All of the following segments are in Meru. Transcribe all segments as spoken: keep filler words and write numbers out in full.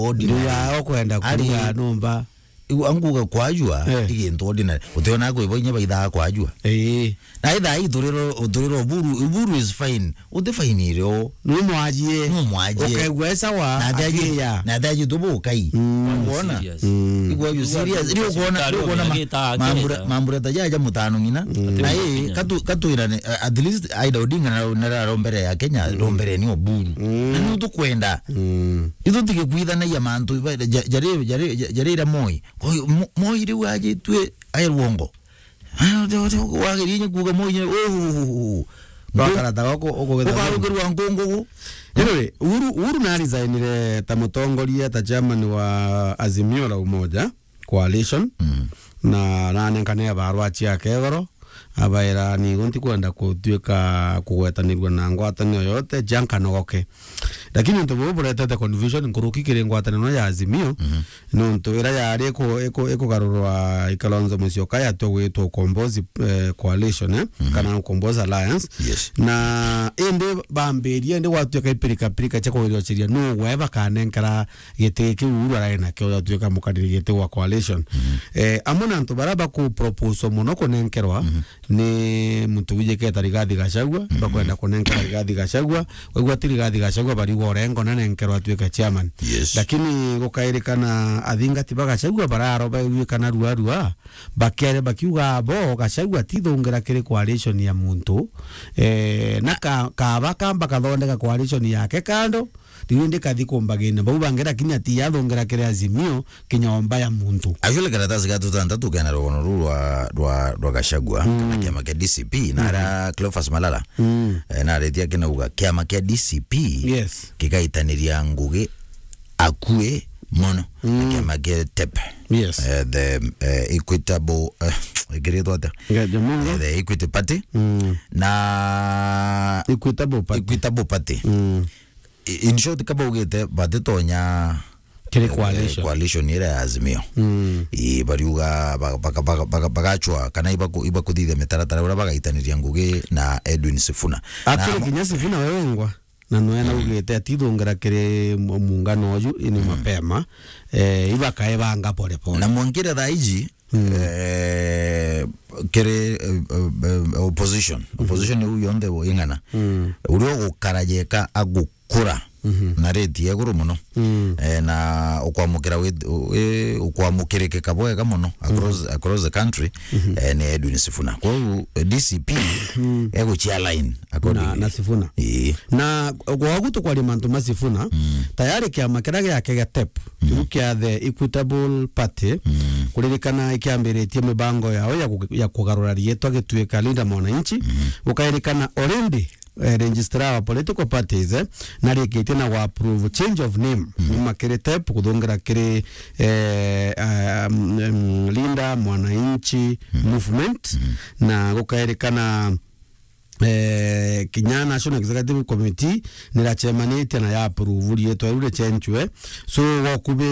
ordinary. Nduga okwenda Ari- kuruga nyumba. Igu anguga kwajua, Eh. igintu ordinary. Utiona kwibo inya baithaa kwajua. Ii. Na ithaa ii turiro, turiro Uburu, Uburu is fine. Utifainire o. Numwajie. Numwajie. Ukaigua e sawa, Na athi aji-, akiya. na athi aji tubu ukai. Mm. Wona? Serious. Mm. Igua you serious. Riu ukwona, riu ukwona ma-, Mambura, Mambura ta jaja mutano ng'ina. Mm. Na ii, katu, katwirane, uh, at least Aida Odinga na, na raro mbere ya Kenya, ro mbere ni Oburu. Mm. Na ni tukwenda. Mm. Ithu tigikwithanagia mantu iba, ja-, jari, jari, ja-, jari ira Moi. Kwa hiyo, Mo-, Moi riu ajitue airwongo. Wagirinya kuuga Moi, oh, Twakarata goko, uko getha ukarugirwa nkungugu. Anyway, Uhuru, Uhuru na resignire ta mutongoria, ta chairman wa Azimio la Umoja Coalition. Mm. Na, na nenkane barua ciake igoro, abaira, "Nigo ntikwenda kutuika kugwetanirua na ngwataniro yote, ja nkanogoke." Lakini untu bubu buretete confusion nkuruki kiri ngwataniro ya Azimio, Mhm. nontu ira yari iku-, iku-, ikugarurwa i Kalonzo Musyoka yatua gwitwa Ukombozi, eh, Coalition, eh, Mhm. kana Ukombozi Alliance. Yes. Na indi bambirie, indi gwatuika ipirikapirika cia kugeria uciria nu we bakanenkera giti kiu Uhuru arai nakio, yatuika mukariri giti wa Coalition. Mhm. Eh, amwe na antu baria baku propose mono kunenkerwa, Mhm. ni muntu wijiketa Rigathi Gachagua, Mhm. bakwenda kunenkera Rigathi Gachagua, waigua ti Rigathi Gachagua, bariuga orengo nanenkerwa atuike chairman. Yes. Lakini gukairikana athingati ba Gachagua bararo baigwikana rua rua, bakiare bakiuga abo Gachagua tithungira kiri coalition ya muntu, eh, na ka-, kaba kamba kathondeka coalition yake kando, riu indi kathi kumbagine bau bangi, lakini ati yathungira kiri Azimio kinyomba ya muntu. Actually, karatasi ga tutantatu kena rugono ruu rwa, rwa, rwa Gachagua, Mm. kana kiama kia D C P, na Mm. ara Cleophas Malala, Mm. eh, na aretia kinauga kiama kia D C P Yes. gikaitaniria ngugi akui mono na Mm. kiama kia TEP. Yes. Eh, the, eh, Equitable, eh, ikiritwo atia? Nga Jamungo. Eh, the Equity Party. Mm. Na Equitable Party. Equitable Party. Mm. I-, in short, kaba ugite batitonya Kiri eh, coalition. coalition ira ya Azimio. Mm. Ii, bariuga ba-, baka-, baka-, baka-, bagachwa kana ibaku-, ibakuthithia mitaratara uria bagaitaniria ngugi na Edwin Sifuna. Na Actually, mo- kinya Sifuna we wengwa, na nwe Mm. naugite atithungira kiri mu-, muungano uju ini Mm. mapema, eh, ibakaebanga pole pole. Na mwankire thaa iji, Mm. eh, kiri, eh, eh, eh, opposition. Mhm. Opposition iu yonthe ing'ana. Mm. Uria ugukara jeka agu- kura Mhm. na rate ya iguru mono. Mm. Eh, na ukwamukira wit-, u-, eh, ukwamukirikika bwega mono across, Mhm. across the country, Mhm. eh, ni Edwin Sifuna. Koguo, eh, D C P Mm. eguchia line accordingly. Na, na Sifuna. Ii. Na gwagu tukwaria mantu ma Sifuna, Mm. tayari kiama kiria giake gia TEP, Mhm. kiu kia the Equitable Party, Mm. kuririkana ikiambiritie mibango yao ya ku-, ya kugarura riitwa gituika Linda Mwananchi, Mhm. gukairikana already eh, registrar wa political parties, eh, narikitie na wa approve change of name Mhm. kuma kiri TEP kuthungira kiri, eh, um, um, Linda Mwananchi Mhm. Movement, Mhm. na gukairikana, eh, kinya National Executive Committee nirachemanitie na ya approve riitwa riu richenchwe. So, gokubi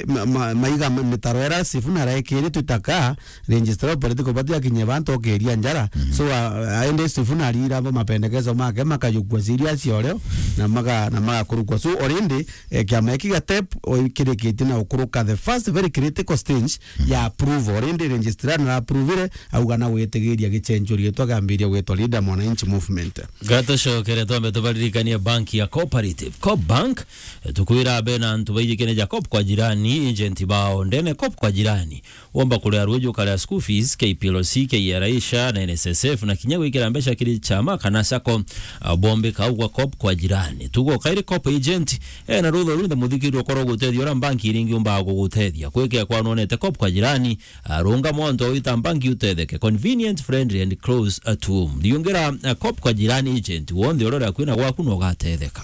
ma-, ma-, maiga ma-, mitaro ira Sifuna araikiri twitaka, Registrar wa political party akinyie bantu okiria njara. Mhm. So, a-, aende Sifuna arira bo mapendekezo make makajukua serious oreo na maga-, na magakurukua. So, already, eh, kiama giki gia TEP o-, kirikitie na ukuruka the first very critical stage Mhm. ya approval. Already registrar na approvire, auga na gwitigiria gichenjio riitwa gambiria gwitwa Linda Mwananchi Movement. Gatucokere twambe tubaririkanie bank ya Cooperative. Coop Bank, eh, tukwira be na antu baijikene ja Coop kwa jirani, agent bao ndene Coop kwa jirani. Womba kuria ruuji ukaria school fees, K P L C, K R A, SHA na N S S F, na kinya gwikira mbeca kiri chama kana sacco, ah, bombika au gwa Coop kwa jirani. Tugo kairi Coop agent, eh, na rutha runthe muthikiri ukorwo gutethia uria mbanki iringi umbaga kugutethia. Kwikea kwa nonete Coop kwa jirani, ah, runga mwanto wita mbanki utetheke. Convenient, friendly and close at home. Thiungira, ah, Coop kwa jirani agent, wonthe uria uria kwina gwaku no ugatetheka.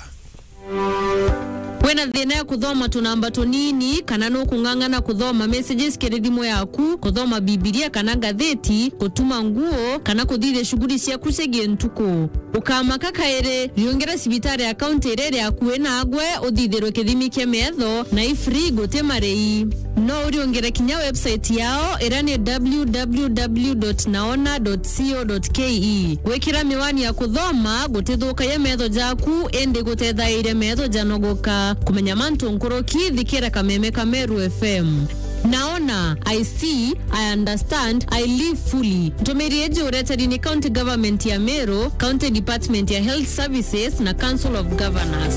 Wina thina ya kuthoma tunamba tunini, kana nukung'ang'ana kuthoma messages kiri thimu yaku, kuthoma Bibilia kana ngathiti, gutuma nguo, kana kuthithia shughuli ciaku cia gintuku? Ukamaka kairi, riungira cibitari ya kaunti iria iri akui nagwe, uthithirwe kithimi kia metho, na i free, guti marei. No uriungire kinya website yao, iria ni w w w dot naona dot co dot k e. Gwikira miwani ya kuthoma gutithukagia metho jaku, indi gutethairia metho janogoka. Kumenya mantu nkuruki, thikira Kameme ka Meru F M. Naona, I see, I understand, I live fully. Ntumiri iji ureteri ni County Government ya Meru, County Department ya Health Services na Council of Governors.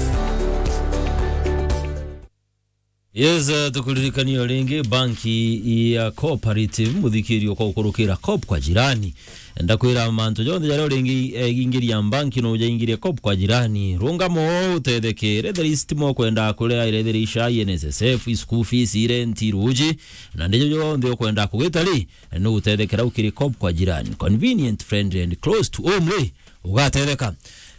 Yes, eh, tukuririkania o ringi, banki ya Cooperative, muthikirio kwa gukurukira Coop kwa jirani. Ndakwira mantu jonthe jaria uringi, eh, ingiria banki no ujaingirie Coop kwa jirani. Rungama o utetheke, retheri stima ukwenda kuria, retheri ica, N S S F, school fees, rent, ruji, na ndijo jonthe ukwenda kugita ri, no utethekera ukiri Coop kwa jirani. Convenient, friendly and close to home ri. Ugatetheka.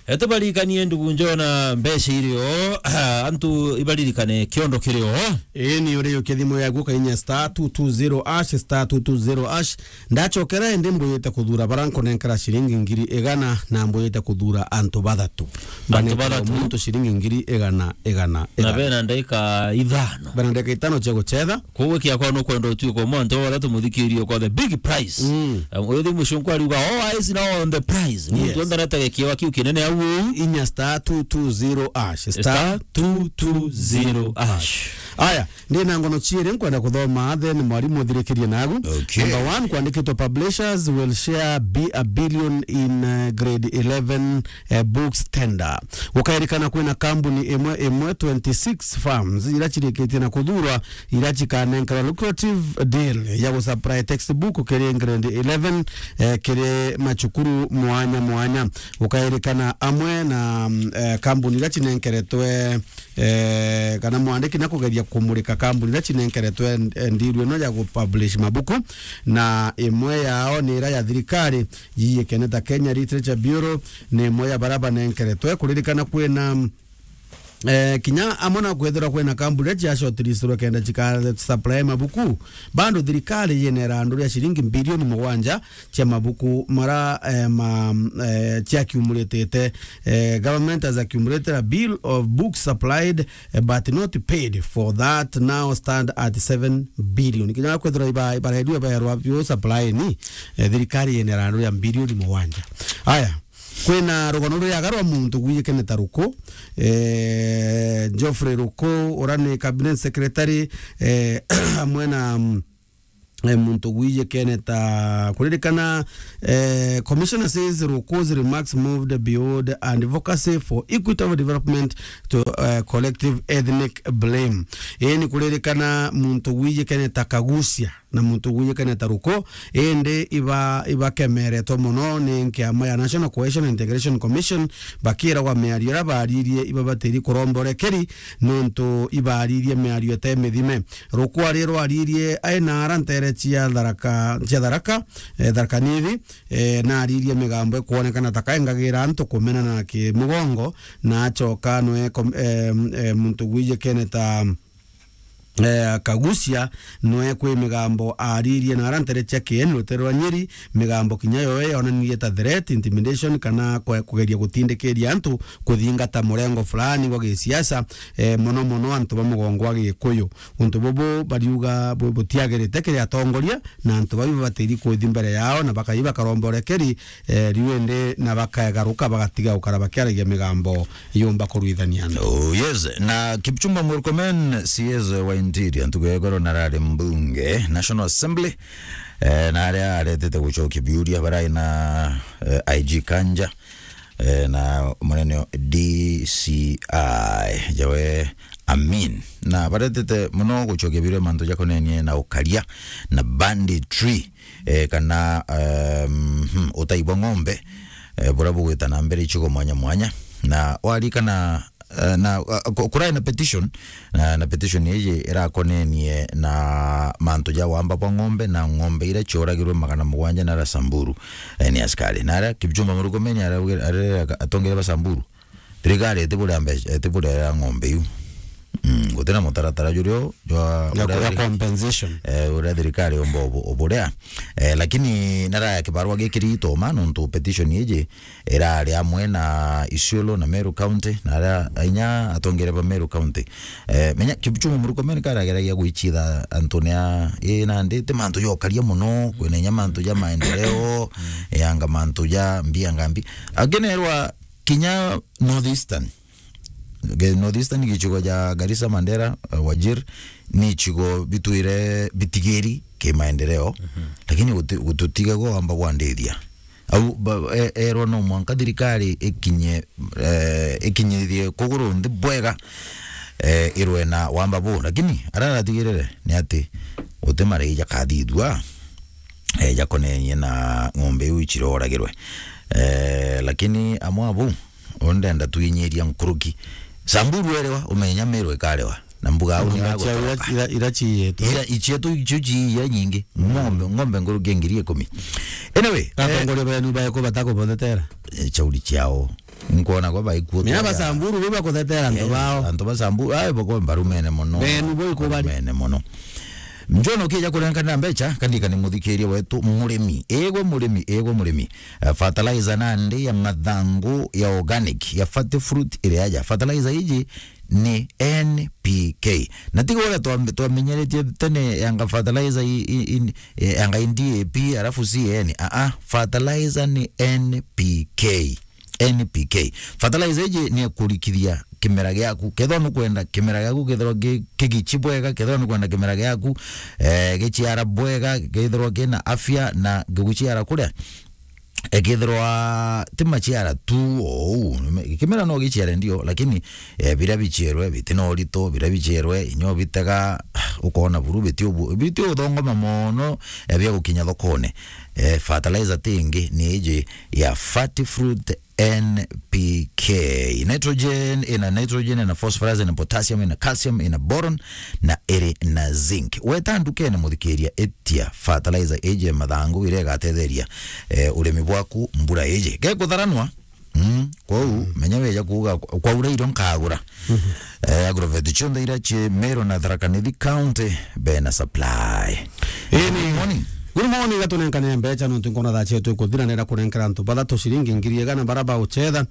Etubarikanie ndugu njona mbeca irio, antu ibaririkane kiondo kirio. Ii ni uriukia thimu yaku ukainya star two two zero hash, star two two zero hash. Ndachokera indi mbuyite kuthura bara nkunenkera ciringi ngiri igana na mbuyite kuthura antu bathatu. Antu bathatu? Muntu ciringi ngiri igana, igana, na igana. Bena ndaika ithano. Bena ndaika itano cia guchetha. Koguo kiakwa nukwenda utuike umwe antu baria tumuthikirie kwa the big prize. Mm. Um, uyu thimu cio nkwariuga, all eyes now on the prize. Muntu, yes, onthe aretege kiewa kiu kinene au. Inya star two two zero hash. Star two two zero hash. Aya, ndi na ngono ciiri nkwenda kuthoma, then mwarimu uthirikirie nagu. Okay. Number one, kwandikitwe publishers will share be a billion in, uh, grade eleven eh, books tender. Gukairikana kwina kambuni imwe imwe twenty-six firms ira cirikitie na kuthurwa ira cikanenkerwa lucrative deal ya gusupply textbook kiri grade eleven, eh, kiri macukuru mwanya mwanya. Gukairikana amwe na, mm, eh, kambuni ira cinenkeretwe, eh, kana mwandiki na kugeria kumurika kambuni ira cinenkeretwe, eh, ndiru ino ya gupublish mabuku, na imwe yao ni ira ya thirikari yiyikene ta Kenya Literature Bureau, ni imwe ya bara banenkeretwe. Kuririkana kwina, eh, kinya amwe na kwithirwa kwina kambuni iria cia shortlistirwe kenda cika supply mabuku. Bado thirikari yina irandu ria ciringi bilioni mugwanja cia mabuku mara, eh, ma, eh, cia accumulated, eh, government has accumulated a bill of books supplied, eh, but not paid for that now stand at seven billion. Kinya kwithirwa iba, ibaredua berwa bio supply ni, eh, thirikari yina irandu ria bilioni mugwanja. Aya, kwina rugano ruriaga rwa muntu gwiyikene ta Ruku, eh, Geoffrey Ruku, ura ni cabinet secretary, eh, amwe na, mm, eh, muntu gwiyikene ta kuririkana, eh, commissioner says Ruku's remarks moved beyond advocacy for equitable development to, eh, collective ethnic blame. Ii ni kuririkana muntu gwiyikene ta Kagucia na muntu gwiyikene ta Ruku, indi iba, ibakemeretwe mono ni nkiama ya National Cohesion and Integration Commission, bakiragwa miario iria baririe ibabatiri kuromba urekeri nontu ibaririe miario ite mithime. Ruku ari rwaririe ai na ara ntere cia Tharaka, cia Tharaka, eh, Tharaka Nithi, eh, naririe migambo ikwonekana ta kaengagira antu kumenana na kimugongo, na acoka nwe kom-, eh, eh, muntu gwiyikene ta, eh, Kagucia, nwe kwi migambo aririe na ara ntere cia Kieni rutere rwa Nyeri, migambo kinya yo yonanirie ta threat, intimidation, kana kwe-, kugeria gutindikiria antu kuthingata murengo fulani gwa gisiasa, eh, mono mono antu ba mugongo wa Gikuyu. Untu bubu bariuga bu-, butiagirite kiri atongoria, na antu bau babatiri kuthi mbere yao, na bakai bakaromba urekeri, eh, riu indi na bakaegaruka bagatiga gukara bakiaragia migambo yumba kurwithania antu. Oh, yes. Na Kipchumba Murkomen, C S wa Interior, ntuku ya igoro narari mbunge, National Assembly, eh, na aria aretete gucokia biuria barai na, eh, I G Kanja, eh, na munene D C I Jawe Amin. Na baretete mono gucokia biuria mantu jakonenie na ukaria na banditry, eh, kana, ehm, hmm, utai bwa ng'ombe, eh, buria bugwita na mbere icigo mwanya mwanya. Na warikana, eh, na, eh, ku-, kurai na petition, na, na petition iji irakonenie na mantu ja wamba bwa ng'ombe na ng'ombe iria cioragirwe magana mugwanja na ara Samburu, eh, ni askari. Na aria Kipchumba Murkomen arauge-, arere atongere ba Samburu, thirikari itiburia mbeca, itiburia ng'ombe iu. Mm, gutina mutaratara jurio jwa ya, uria ya thiri-, compensation, eh, uria thirikari yomba ubu-, uburia. Eh, lakini naraya kibarua gikiri itoma nontu petition iji irari amwe na Isiolo na Meru County, na aria inya atongere ba Meru County. Eh, menya Kipchumba Murkomen karageragia gwichitha antu nia, ii nandi ti mantu jokaria mono, kwina inya mantu ja maendeleo, yanga mantu ja mbia ngambi. Akenerwa kinya North Eastern. Ge-, North Eastern, gicigo ja Garissa, Mandera, eh, Wajir, ni icigo bitwire bitigiri ki maendeleo, lakini guti-, gututiga gwa wamba gwandithia. Au ba-, e-, erwa no mwanka thirikari ikinye, eh, ikinyithie kuguru nthi bwega, eh, irwe na wamba buu. Lakini aria aratigirire ni ati guti marai jakathithua, eh, jakonenie na ng'ombe iu iciroragirwe. Eh, lakini amwe abu, uu ndenda twinyiria nkuruki. Samburu erewa, umenya Meru ikarewa. Na mbuga au ni Ng'ombe cia agotoroka. Ira, ira, ira ciiyetwe. Ira, icietu icio ciiya nyingi. Ng'ombe, ng'ombe nkuruki ya ngiri ikumi. Anyway, eh, atongoria benu baeku batakubothetera? Eh, chauri ciao. Nkwona kwa baikuo. Mina ba Samburu bo bakuthetera antu bao. Antu ba Samburu, ai, bako barumene mono. Benu bo ikubari. Barumene mono. Njono kija kurenkana mbecha, kandika ni muthikiria wetu murimi. Egwe murimi, egwe murimi. Eh, fertilizer nandi ya mathangu ya organic, ya Fati Fruit iria ya. Fertilizer iji ni N P K. Na tiga uria twa-, twamenyeretie tene yanga fertilizer i, i, i, eh, yanga i D A P, alafu C A N. Ah, ah, fertilizer ni N P K. N P K. Fertilizer iji ni ekurikithia kimera giaku. Kethirwa nukwenda kimera giaku kethirwa ki-, kigichi bwega, kethirwa nukwenda kimera giaku, eh, giciara bwega, kethirwa kina afya na giguciara kuria, eh, kethirwa ti maciara tu ou, kimera no giciare ndio, lakini, eh, biria bicierwe biti na urito, biria bicierwe inyo bitega, ukona buru biti ubu-, biti uthongoma mono, eh, bia gukinya thokone. Eh, fertilizer ti ingi ni iji ya Fati Fruit N P K. Nitrogen, ina nitrogen, ina phosphorus, ina potassium, ina calcium, ina boron, na iri na zinc. Weta ndukene muthikiria, itia fertilizer iji mathangu iria igatetheria, eh, urimi bwaku mbura iji gekutharanwa. Mm, kwou, menya weja kuuga, kwa-, kwaura irio nkagura. Eh, agrovet cionthe iria ci Meru na Tharaka Nithi County, bena supply. Ii ni Good morning. Good morning, gatunenkane mbecha nontu nkona thaa cietu ikuthira, nenda kunenkera antu bathatu ciringi ngiri igana bara bauchetha.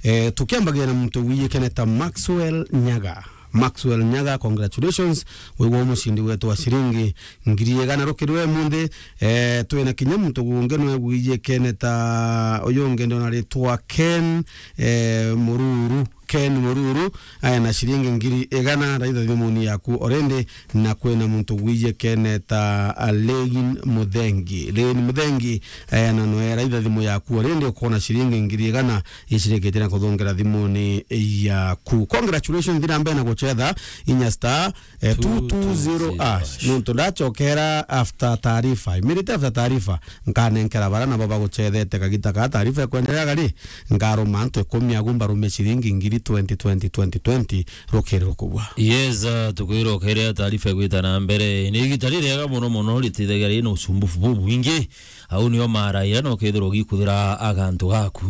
Eh, tukiambagia na muntu wiyikene ta Maxwell Nyaga. Maxwell Nyaga, congratulations. Wigwa mucindi wetu wa ciringi ngiri igana rukirwe munthi. Eh, twina kinya muntu ungi nwe wiyikene ta uyu ungi ndona ritwa Ken, eh, Mururu. Ken Mururu, aya na ciringi ngiri igana, raitha thimuni yaku already, na kwina muntu wiyikene ta, ah, Lane Muthengi. Lane Muthengi, aya na noe raitha thimu yaku already, ukona ciringi ngiri igana icirikite na kuthongera thimuni yaku. Congratulations, thira mbere na guchetha inya star, eh, two two zero hash. Nontu ndachokera after taarifa. Immediate after taarifa, nkanenkera bara nabo baguchethete kagita ka taarifa ikwenderea gari, nkaruma antu ikumi agu mbarume ciringi ngiri twenty, twenty, twenty, twenty, rukiri rukubwa. Yes, uh, tukwira ukerea taarifa igwita na mbere. Ni igita ririega mono mono, ritithagia rina usumbufu bubwingi. Au nio mara iria no kethirwa ugikuthira agantu gaku.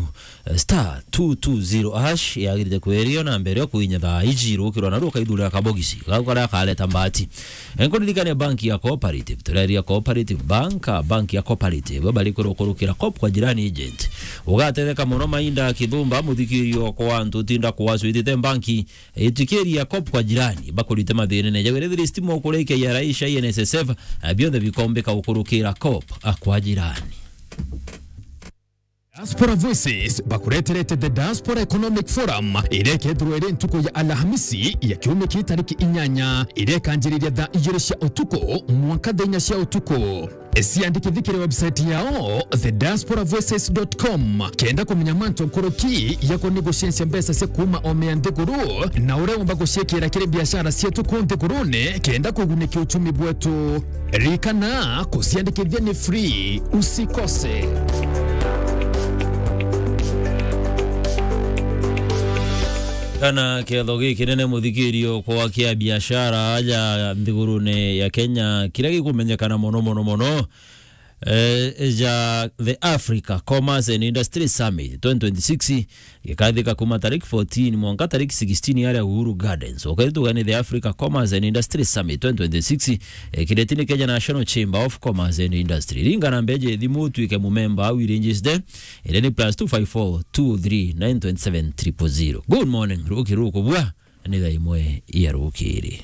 Eh, star two two zero hash yagirite kwerio na mbere o kuinya thaa iji rukirwa na rukaithurira kabogisi gau karia kareta mbati. Eh, nkuririkania banki ya Cooperative, tureria Cooperative Bank, ah, banki ya Cooperative, bari kurukurukira Coop kwa Jirani Agent. Ugatetheka mono mainda kithumba muthikirio kwa antu utinda kuwaswitite banki, itikiria Coop kwa Jirani, bakurite mathinene. Jawirithiri stima ukurikia ya Raisha, N S S F, ah, bionthe bikombika ukurukira Coop, ah, kwa Jirani. Diaspora Voices bakureterete The Diaspora Economic Forum, iria ikethirwa iri ntuku ya Alhamisi ya kiumia kii tariki inyanya, iria ikanjiriria thaa igiri cia utuku mwanka thaa inya cia utuku. Ciandikithie kiri website yao, the diaspora voices dot com, kenda kumenya mantu nkuruki yakoni gucenjia mbeca cia kuuma ome ya nthiguru, na uria umba guciikira kiri biashara cietu kuu nthigurune, kenda kugunikia uchumi bwetu. Ririkana, kuciandikithia ni free. Usikose. Kana kiatho gikinene muthikirio kwa kia biashara aja nthigurune ya Kenya, kiria gikumenyekana mono, mono, mono, eh, ja the Africa Commerce and Industry Summit twenty twenty-six, gikathika kuma tariki fourteen mwanka tariki sixteen aria Uhuru Gardens. Ukaitugani the Africa Commerce and Industry Summit twenty twenty-six, eh, kiretini Kenya National Chamber of Commerce and Industry. Ringa na mbeje thimu utwike mumemba au irinjiste, ire ni plus two five four two three nine twenty seven triple zero. Good morning, ruki rukubua, ni thaa imwe ya rukiri.